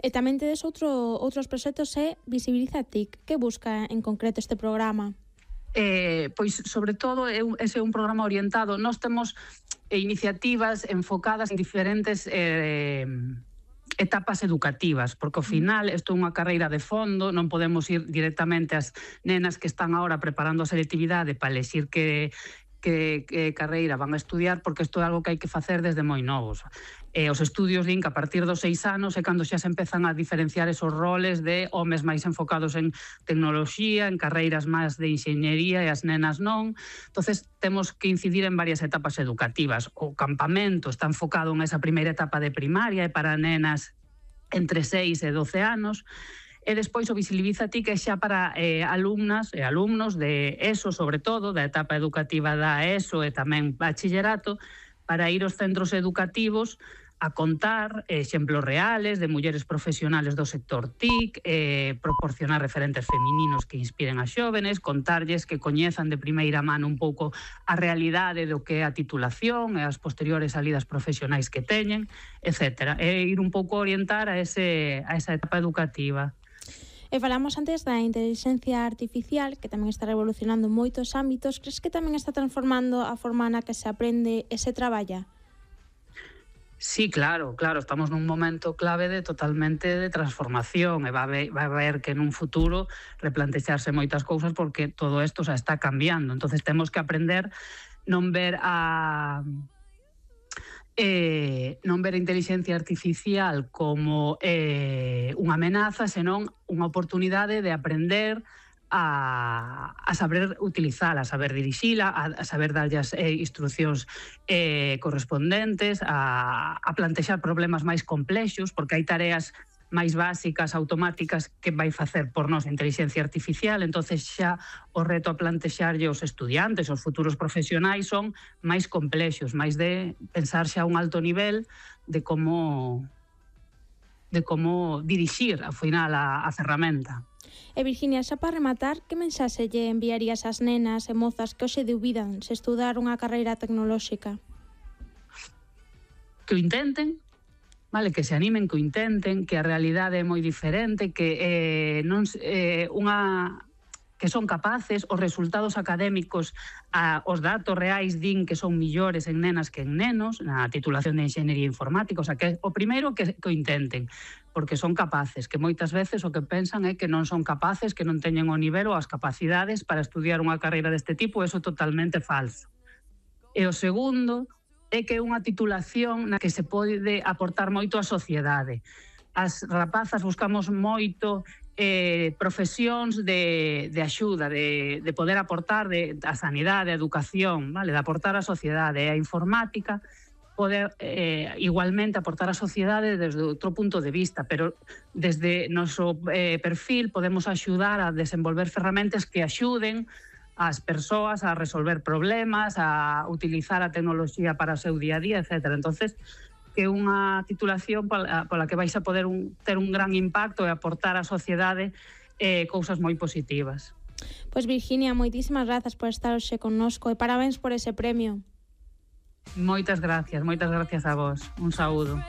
E tamén tedes outros proxectos Visibiliza TIC. Que busca en concreto este programa? Pois, sobre todo, ese é un programa orientado. Nós temos iniciativas enfocadas en diferentes etapas educativas, porque ao final isto é unha carreira de fondo, non podemos ir directamente ás nenas que están agora preparando a selectividade para elexir que carreira van a estudiar, porque isto é algo que hai que facer desde moi novos. Os estudios din que a partir dos 6 anos é cando xa se empezan a diferenciar esos roles de homes máis enfocados en tecnoloxía, en carreiras máis de enxeñería e as nenas non. Entonces temos que incidir en varias etapas educativas. O campamento está enfocado en esa primeira etapa de primaria e para nenas entre 6 e 12 anos. E despois o Visibiliza TIC é xa para alumnas e alumnos de ESO, sobre todo, da etapa educativa da ESO e tamén bachillerato, para ir aos centros educativos a contar exemplos reales de mulleres profesionales do sector TIC, proporcionar referentes femininos que inspiren a xóvenes, contarlles que coñezan de primeira mano un pouco a realidade do que é a titulación e as posteriores salidas profesionais que teñen, etc. E ir un pouco a orientar a esa etapa educativa. E falamos antes da inteligencia artificial, que tamén está revolucionando moitos ámbitos. Crees que tamén está transformando a forma na que se aprende e se traballa? Sí, claro, estamos nun momento clave totalmente de transformación e vai haber que nun futuro replantexarse moitas cousas porque todo isto xa está cambiando. Entonces temos que aprender non ver a inteligencia artificial como unha amenaza, senón unha oportunidade de aprender a saber utilizala, a saber dirixila, a saber darlle as instruccións correspondentes, a plantexar problemas máis complexos, porque hai tareas máis básicas, automáticas, que vai facer por nós a inteligencia artificial. Entonces xa o reto a plantexarlle aos estudiantes, aos futuros profesionais, son máis complexos, máis de pensar xa a un alto nivel de como dirixir, ao final, a ferramenta. E Virginia, xa para rematar, que mensaxe lle enviarías ás nenas e mozas que hoxe dubidan se estudar unha carreira tecnolóxica? Que o intenten, vale, que se animen, que o intenten, que a realidade é moi diferente, que que son capaces, os resultados académicos, os datos reais din que son millores en nenas que en nenos, na titulación de enxeñería informática, o sea, que o primeiro que o intenten, porque son capaces, que moitas veces o que pensan é que non son capaces, que non teñen o nivel ou as capacidades para estudiar unha carreira deste tipo, eso é totalmente falso. E o segundo é que é unha titulación na que se pode aportar moito á sociedade. As rapazas buscamos moito profesións de axuda, de poder aportar a sanidade, a educación, vale, de aportar á sociedade. E a informática poder igualmente aportar á sociedade desde outro punto de vista, pero desde noso perfil podemos axudar a desenvolver ferramentas que axuden ás persoas a resolver problemas, a utilizar a tecnoloxía para o seu día a día, etc. Entonces, que é unha titulación pola que vais a poder ter un gran impacto e aportar á sociedade cousas moi positivas. Pois Virginia, moitísimas grazas por estar hoxe connosco e parabéns por ese premio. Moitas gracias a vos. Un saúdo.